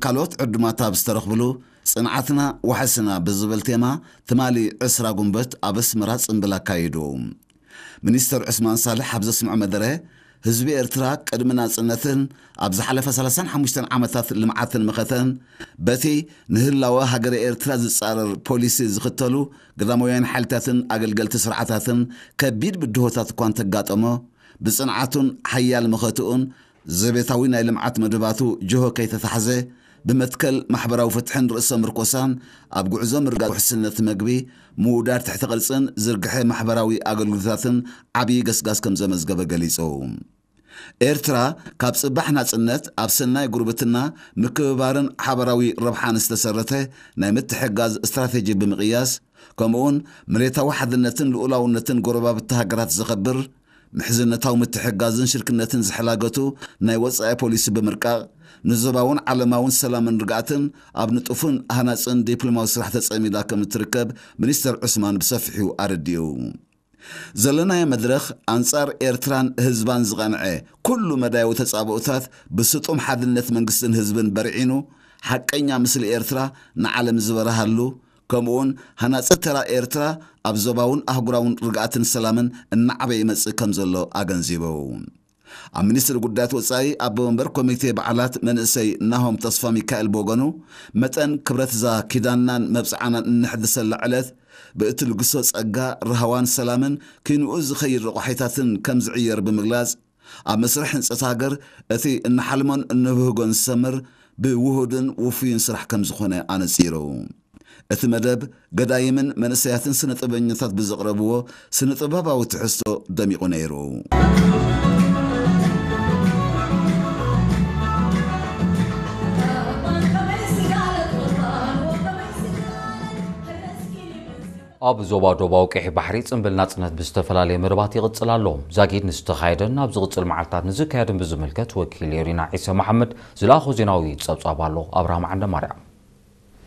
ካልኦት ዕዱማት ኣብ ዝተረኽብሉ፣ ጽንዓትና ዋሕስና ብዝብል ቴማ ትማሊ ዕስራ ጉንበት ኣብ ኣስመራ ጽምብል ኣካይዱ። ሚኒስተር ዑስማን ሳልሕ ኣብ ዘስምዖ መደረ፣ ህዝቢ ኤርትራ ቅድሚ ናጽነትን ኣብ ዝሓለፈ ሰላሳን ሓሙሽተን ዓመታት ልምዓትን መኸተን፣ በቲ ንህላወ ሃገረ ኤርትራ ዝጻረር ፖሊሲ ዝኽተሉ ግዳማውያን ሓይልታትን ኣገልገልቲ ስርዓታትን ከቢድ ብድሆታት እኳ እንተጋጠሞ፣ ብጽንዓቱን ሓያል መኸትኡን ዘቤታዊ ናይ ልምዓት መደባቱ ጅሆ ከይተታሕዘ፣ ብመትከል ማሕበራዊ ፍትሕን ርእሰ ምርኮሳን ኣብ ጉዕዞ ምርጋጥ ውሕስነት መግቢ፣ ምውዳድ ትሕቲ ቅርጽን ዝርግሐ ማሕበራዊ ኣገልግሎታትን ዓብዪ ገስጋስ ከም ዘመዝገበ ገሊጹ። ኤርትራ ካብ ጽባሕ ናጽነት ኣብ ሰናይ ጉርብትና፣ ምክብባርን ሓበራዊ ረብሓን ዝተሰረተ ናይ ምትሕጋዝ ስትራቴጂ ብምቕያስ፣ ከምኡውን መሬታዊ ሓድነትን ልኡላውነትን ጎረባብቲ ሃገራት ዘኸብር፣ ምሕዝነታዊ ምትሕጋዝን ሽርክነትን ዝሕላገቱ ናይ ወጻኢ ፖሊሲ ብምርቃቕ፣ ንዞባውን ዓለማውን ሰላምን ርግኣትን ኣብ ንጡፍን ሃናጽን ዲፕሎማዊ ስራሕ ተጸሚዳ ከም እትርከብ ሚኒስተር ዑስማን ብሰፊሑ ኣረዲኡ። ዘለናዮ መድረኽ ኣንጻር ኤርትራን ህዝባን ዝቐንዐ ኩሉ መዳያዊ ተጻብኦታት ብስጡም ሓድነት መንግስትን ህዝብን በርዒኑ፣ ሓቀኛ ምስሊ ኤርትራ ንዓለም ዝበርሃሉ፣ ከምኡውን ሃናጺ ተራ ኤርትራ ኣብ ዞባውን ኣህጉራውን ርግኣትን ሰላምን እናዓበየ ይመጽእ ከም ዘሎ ኣገንዚቡ። ኣብ ሚኒስትሪ ጉዳያት ወጻኢ ኣቦ መንበር ኮሚቴ በዓላት መንእሰይ ናሆም ተስፋ ሚካኤል ብወገኑ፣ መጠን ክብረት እዛ ኪዳንናን መብጽዓናን እንሕድሰላ ዕለት ብእትልግሶ ጸጋ፣ ራህዋን ሰላምን፣ ክንኡ ዝኸይድ ረቋሒታትን ከም ዝዕየር ብምግላጽ፣ ኣብ መስርሕ ህንጸት ሃገር እቲ እንሓልሞን እንብህጎን ዝሰምር ብውሁድን ውፉይን ስራሕ ከም ዝኾነ ኣነጺሩ። እቲ መደብ ገዳይምን መንእሰያትን ስነ ጥበበኛታት ብዘቕረብዎ ስነ ጥበባዊ ትሕዝቶ ደሚቑ ነይሩ። ኣብ ዞባ ዶባዊ ቀይሕ ባሕሪ ጽምብል ናጽነት ብዝተፈላለየ መደባት ይቕጽል ኣሎ። ዛጊድ ንዝተኻየደን ኣብ ዝቕጽል መዓልታት ንዝካየድን ብዝምልከት ወኪል የሪና ዒሰ መሓመድ ዝለኣኾ ዜናዊ ጸብጻብ ኣሎ። ኣብርሃም ዓንደ ማርያም።